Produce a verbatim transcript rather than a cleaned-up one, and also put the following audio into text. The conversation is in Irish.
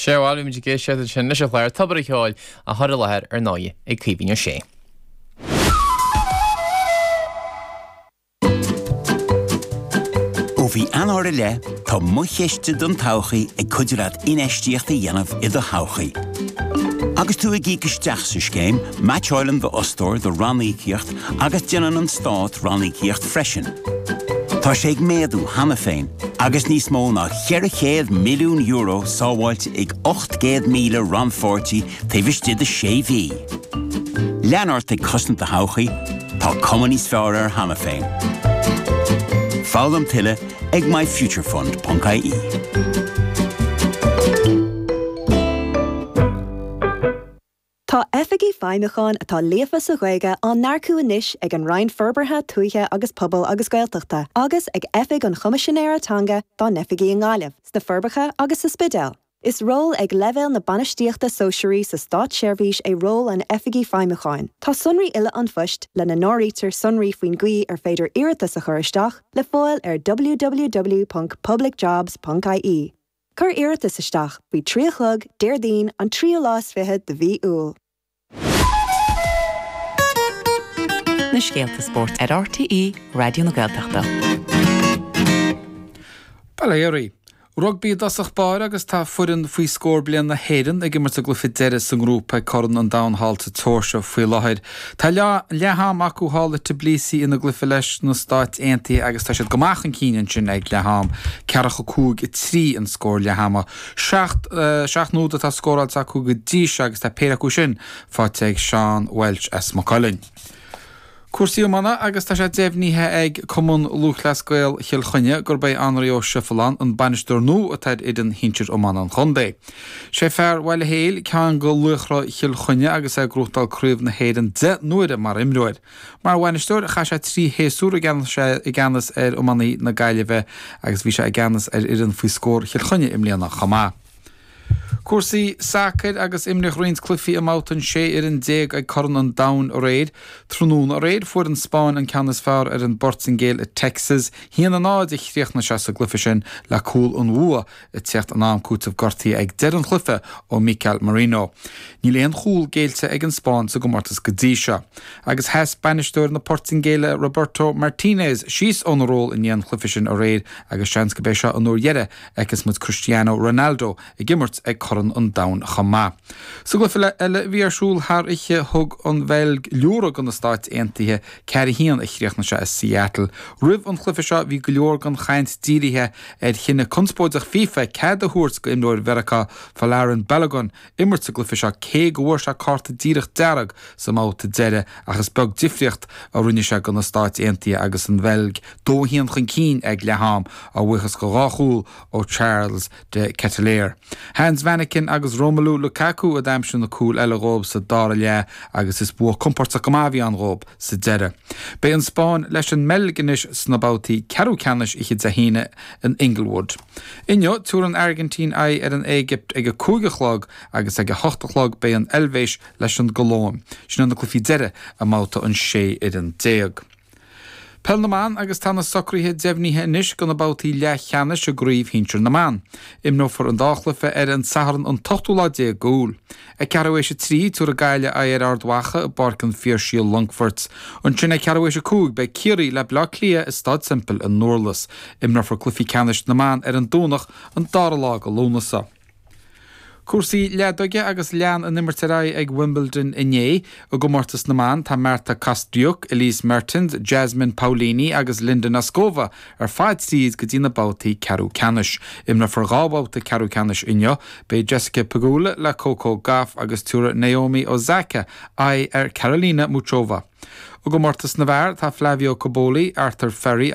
Sé bhuel muid ag éisteacht sin leis an chlár Tobar an Cheoil á chur i láthair ar ndóigh ag Caoimhín Ó Sé. Ó mhí Eanáir i leith, tá Mo Chiste don Todhchaí ag cuidiú leat infheistíocht a dhéanamh i do thodhchaí. Agus tú ag íoc isteach sa scéim, meaitseálann d'fhostóir do ranníocaíocht agus déanann an stát ranníocaíocht freisin. Tá sé ag méadú cheana féin, agus níos mó ná ceithre chéad milliún euro sábháilte ag ocht gcéad míle rannpháirtí taobh istigh de sé mhí. Lean ort ag cosaint do thodhchaí, tá cuma níos fearr air cheana féin. Foghlaim tuilleadh ag myfuturefund.ie. Tá Oifigigh Feidhmiúcháin atá líofa sa Ghaeilge á n-earcú anois ag an Roinn Forbartha Tuaithe agus Pobail agus Gaeltachta agus ag Oifig an Choimisinéara Teanga dá n-oifigí i nGaillimh, sna Forbacha agus sa Spidéal. Is ról ag leibhéal na bainistíochta sóisearaí sa státseirbhís é ról an Oifigigh Feidhmiúcháin. Tá sonraí uile an phoist, lena n-áirítear sonraí faoin gcaoi ar féidir iarratas a chur isteach, le fáil ar www.publicjobs.ie. Cuir iarratas isteach faoi trí a chlog Déardaoin an tríú lá is fiche de mhí Iúil. Na scéalta spóirt ar RTÉ Raidió na Gaeltachta. Bail ó Dhia oraibh. Rugbaí i dtosach báire agus tá foireann faoi scór bliain na hÉireann ag imirt a gcluiche deiridh sa ngrúpa ag Corn an Domhain thall sa tSeoirsia faoi láthair. Tá leath-am acu thall i Tbilisi ina gcluiche leis na Stáit Aontaithe agus tá siad go maith chun cinn ansin ag leath-am. Ceathracha cúig a trí an scór leath-ama. Seacht seacht n-úd atá scóráilte acu go dtí seo agus tá péire acu sin faighte ag Seán Walsh as Maigh Cuilinn. Cúrsaí iomána agus tá sé deimhnithe ag Cumann Lúthchleas Gael Chill Chainnigh gurb é Anraí Ó Seirealláin an bainisteoir nua atá ar fhoireann shinsir iomána an chontae. Sé fear Bhaile Héil ceann de laochra Chill Chainnigh agus é ag gnóthachtáil Craobh na hÉireann deich n-uaire mar imreoir. Mar bhainisteoir chaith sé trí shéasúr i gceannas ar iománaí na Gaillimhe agus bhí sé i gceannas ar fhoireann faoi scór Chill Chainnigh i mbliana chomh maith. Cúrsaí sacair agus imríodh roinnt cluichí i mbabhta an sé fhoireann déag ag Corn an Domhain aréir. Tráthnóna aréir fuair an Spáinn an ceann is fearr ar an bPortaingéil i Texas. Haon a náid a chríochnaigh sé sa gcluiche sin le cúl an bhua ag teacht in am cúitimh gortaithe ag deireadh an chluiche ó Mikel Merino. Níl aon chúl géillte ag an Spáinn sa gcomórtas go dtí seo. Agus sheas bainisteoir na Portaingéile Roberto Martinez síos óna ról i ndiaidh an chluiche sin aréir agus seans gurb é seo an uair dheiridh a fheicfeas muid Cristiano Ronaldo ag imirt ag Corn an Domhain chomh maith. Sa gcluiche eile a bhí ar siúl thar oíche thug an Bheilg liúradh do na Stáit Aontaithe, ceathair a haon a chríochnaigh sé i Seattle. Roimh an chluiche seo bhí go leor den chaint dírithe ar chinneadh conspóideach FIFA cead a thabhairt do imreoir Mheiriceá Folarin Balogun imirt sa gcluiche seo cé go bhfuair sé cárta díreach dearg sa mbabhta deiridh ach is beag difríocht a rinne sé do na Stáit Aontaithe agus an Bheilg dó a haon chun cinn ag leath-am a bhuíochas do dhá chúl ó Charles de Ketelaere. Hans Vanaken agus Romelu Lukaku a d'aimsigh na cúil eile dhóibh sa dara leath agus is bua compordach go maith a bhí ann dhóibh sa deireadh. Beidh an Spáinn leis an mBeilg anois sna babhtaí ceathrú ceannais oíche Dé hAoine in Inglewood. Inniu, tabharfaidh an Airgintín aghaidh ar an Éigipt ag a cúig a chlog agus ag a hocht a chlog beidh an Eilvéis leis an gColóim. Sin iad na cluichí deiridh i mbabhta an sé fhoireann déag. Peil na mBan agus tá na socruithe deimhnithe anois do na babhtaí leathcheannais i gCraobh Shinsir na mBan. Imreofar an dá chluiche ar an Satharn an t-ochtú lá déag d'Iúil. Ag ceathrú théis a trí, tabharfaidh Gaillimh aghaidh ar Ard Mhacha i bPáirc an Phiarsaigh i Longfort. Ansin ag ceathrú théis a cúig beidh Ciarraí le Baile Átha Cliath i Staid Semple i nDurlas. Imreofar cluichí ceannais na mban ar an Domhnach an dara lá de Lúnasa. Cúrsaí leadóige agus lean an imirt ar aghaidh ag Wimbledon inné. I gcomórtas na mban, tá Marta Kostyuk, Elise Mertens, Jasmine Paolini agus Linda Noskova ar fad tríd go dtí na babhtaí ceathrú ceannais. Imreofar dhá bhabhta ceathrú ceannais inniu. Beidh Jessica Pegula le Coco Gauff agus tabharfaidh Naomi Osaka aghaidh ar Karolina Muchova. I gcomórtas na bhfear, tá Flavio Cobolli, Arthur Fery